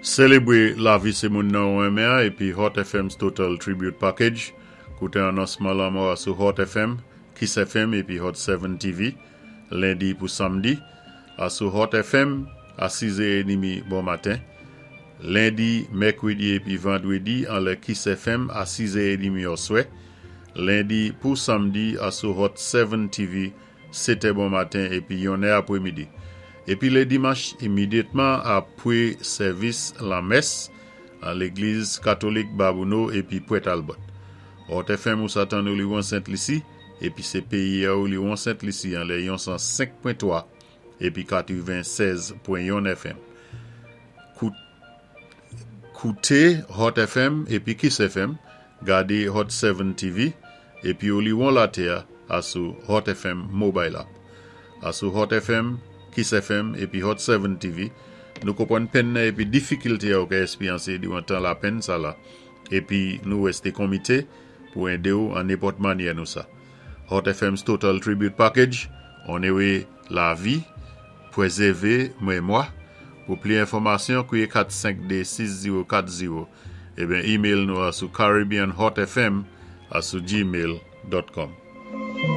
Sélébwé lavi sé moun nan ou renmen an épi Hot FM's Total Tribute Package. Kouté anonsman lanmò a sou Hot FM, Kiss FM épi Hot 7 TV, lendi pou samdi, asou Hot FM a 6 è édmi bon maten. Lendi, mèkwédi épi vandwédi anlè Kiss FM a 6 è édmi òswè. Lendi pou samdi asou Hot 7 TV 7 è bon maten épi 1 è apwémidi. Épi lé dimanch imidyatman apwé sèvis lanmès an légliz katolik Babouno épi Pwèt Albòt. Hot FM ou sa tann Oliwon Sent Lisi épi sé péyi a Oliwon Sent Lisi anlè yon 105.3 épi 96.1 FM. Kouté Hot FM épi Kiss FM, gadé Hot 7 TV épi Oliwon Latè asou Hot FM Mobile App. Asou Hot FM, Kiss FM épi Hot 7 TV, nou konpwann penn nan épi difikilté a ou ka èspéryansé diwan tan lapenn sa la épi nou wèsté konmité pou édé-w an nenpòt mannyè nou sa. Hot FM's Total Tribute Package, onoré lavi, pwézèvé mémwa. Pou pli enfòmasyon, kwiyé 452 6040 eben email nou asou caribbeanhotfm@gmail.com.